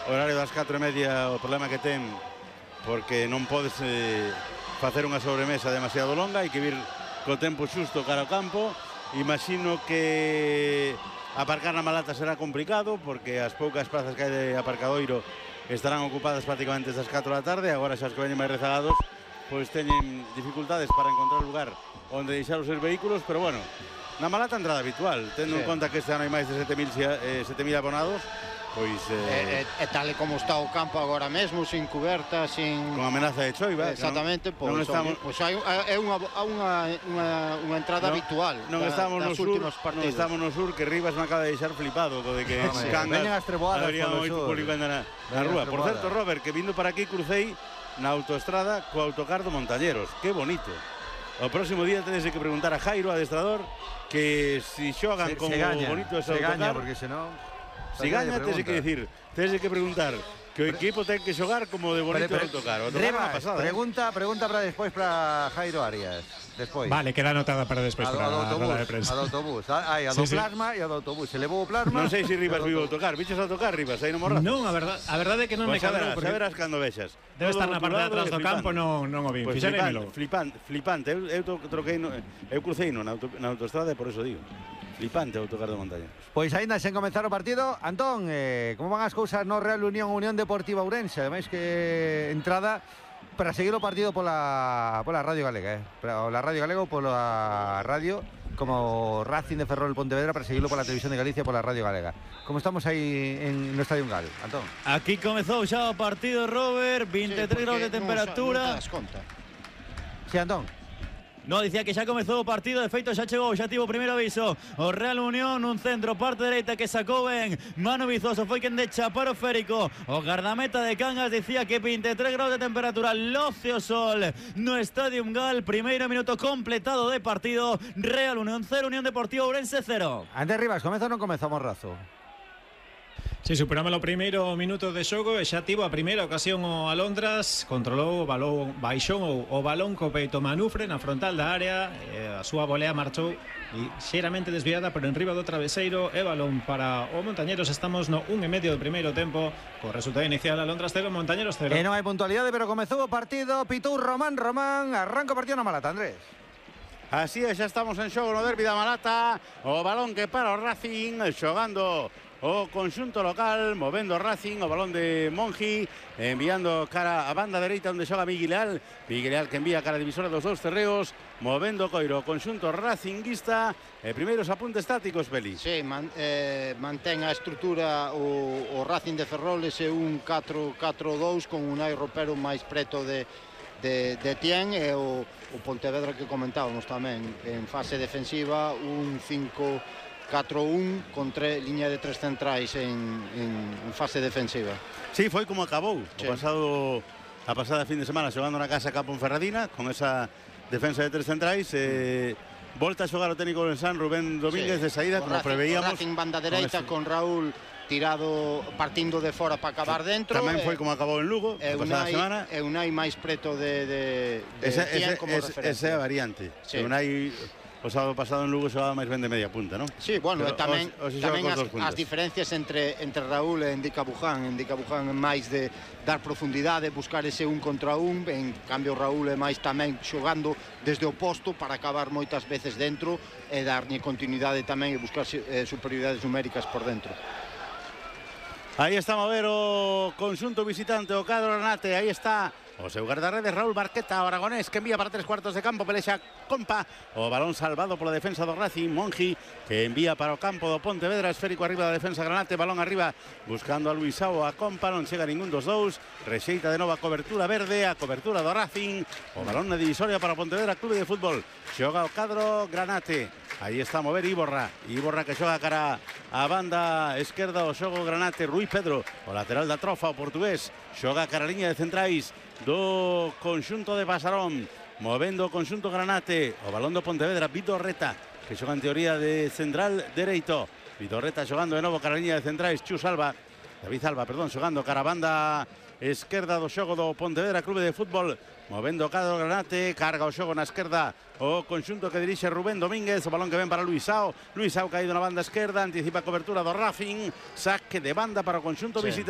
horario das 4:30 o problema que ten, porque non podes facer unha sobremesa demasiado longa, hai que vir co tempo xusto cara ao campo. Imagino que aparcar na Malata será complicado, porque as poucas plazas que hai de aparcadoiro estarán ocupadas prácticamente desde as 4 da tarde. Agora xa os que veñen máis rezagados pois teñen dificultades para encontrar lugar onde deixar os seus vehículos, pero bueno, na Malata entrada habitual, tendo en conta que este ano hai máis de 7.000 abonados, pois tal e como está o campo agora mesmo, sin cuberta, sin con amenaza de choiva, exactamente, pois é unha entrada habitual. Non estamos no sur, non estamos no sur, que Rivas me acaba de deixar flipado co de que veñen as treboadas polo sur na rúa. Por certo, Robert, que vindo para aquí crucei na autoestrada co autocar do Montañeros. Que bonito. O próximo día tedes que preguntar a Jairo, adestrador, que si xogan como bonito ese autocar. Se gaña, porque senón... Si gaña, tedes que decir, tedes que preguntar que o equipo ten que xogar como de bonito o autocar. Pregunta para despois para Jairo Arias. Despois. Vale, queda anotada para despois para a roda de prensa. A do autobús. Hai a do plasma e a do autobús. Se levou o plasma. Non sei se Rivas viu o autocar. Viches o autocar, Rivas, aí no Morrazo? Non, a verdade é que non me cadrou. Saberás cando vexas. Debe estar na parte de atrás do campo, non o vi. Fixarémelo. Flipante. Eu troquei, eu crucei na autoestrada e por eso digo. Flipante o autocar do Montañeros. Pois aínda sen comezar o partido, Antón, como van as cousas no Real Unión Deportiva Ourense? Ademais que entrada para seguir o partido pola Radio Galega, pola Radio Galega ou pola radio como Racing de Ferrol Pontevedra, para seguirlo pola Televisión de Galicia e pola Radio Galega. Como estamos aí no Estadio Ungal, Antón? Aquí comezou xa o partido, Robert, 23 graus de temperatura. Sí, Antón. No, dicía que xa comezou o partido, de feito xa chegou, xa tivo o primeiro aviso o Real Unión, un centro parte dereita que sacou ben Manu Vizoso, foi quen de chapar o Férico, o gardameta de Cangas. Dicía que 23 graus de temperatura, loce o sol no Estadio Ungal. Primeiro minuto completado de partido, Real Unión 0, Unión Deportiva Ourense 0. Antes Rivas, comeza ou non comeza Morrazo? Si, superamos o primeiro minuto de xogo e xa tivo a primeira ocasión o Alondras, controlou o balón, baixou o balón co peito Manufre na frontal da área, a súa volea marchou xeramente desviada por enriba do traveseiro e balón para o Montañeros. Estamos no 1:30 do primeiro tempo, co resultado inicial Alondras 0, Montañeros 0. E non hai puntualidade, pero comezou o partido, pitou Román, arranca o partido na Malata, Andrés. Así é, xa estamos en xogo no derbi da Malata, o balón que para o Racing, xogando o conxunto local, movendo o Racing, o balón de Monji, enviando cara a banda dereita onde xoga Miguel Leal que envía cara a divisora dos dous terreos, movendo Coiro, o conxunto racinguista. Primeiros apuntes tácticos, Beli. Sí, mantén a estrutura o Racing de Ferrol, ese un 4-4-2 con Unai Ropero máis preto de Tien, e o Pontevedra que comentábamos tamén en fase defensiva, un 5-4-1 con liña de tres centrais en fase defensiva. Sí, foi como acabou a pasada fin de semana, xogando na casa Campo Ferradina con esa defensa de tres centrais. Volta a xogar o técnico del San Rubén Domínguez, de saída, como preveíamos. Racing banda dereita con Raúl tirado, partindo de fora para acabar dentro. Tamén foi como acabou en Lugo a pasada semana. E Unai máis preto de Tien como referencia. Esa é a variante. Unai o sábado pasado en Lugo xogaba máis ben de media punta, non? Sí, bueno, tamén as diferencias entre Raúl e Indica Buján. Indica Buján é máis de dar profundidade, buscar ese un contra un. En cambio Raúl é máis tamén xogando desde o posto para acabar moitas veces dentro e darlle continuidade tamén e buscar superioridades numéricas por dentro. Aí está a mover o conxunto visitante, o cadro Granate. Aí está o seu guardarredes Raúl Barqueta, o aragonés, que envía para 3/4 de campo, pelexa Compa, o balón salvado pola defensa do Racing. Monji, que envía para o campo do Pontevedra, esférico arriba da defensa Granate, balón arriba buscando a Luisao, a Compa, non chega ningún dos dous, rexeita de novo a cobertura verde, a cobertura do Racing, o balón na divisoria para o Pontevedra Clube de Fútbol. Xoga o cadro Granate. Aí está a mover Iborra que xoga cara a banda esquerda, o xogo Granate. Rui Pedro, o lateral da Trofa, o portugués, xoga cara a liña de centrais do conxunto de Pasarón, movendo o conxunto Granate, o balón do Pontevedra. Vidorreta, que xoga en teoría de central dereito. Vidorreta xogando de novo cara a liña de centrais. David Alba, xogando cara a banda esquerda do xogo do Pontevedra Clube de Fútbol, movendo o cadro Granate, carga o xogo na esquerda o conxunto que dirixe Rubén Domínguez, o balón que ven para Luisao caído na banda esquerda, anticipa a cobertura do Racing, saque de banda para o conxunto visitante.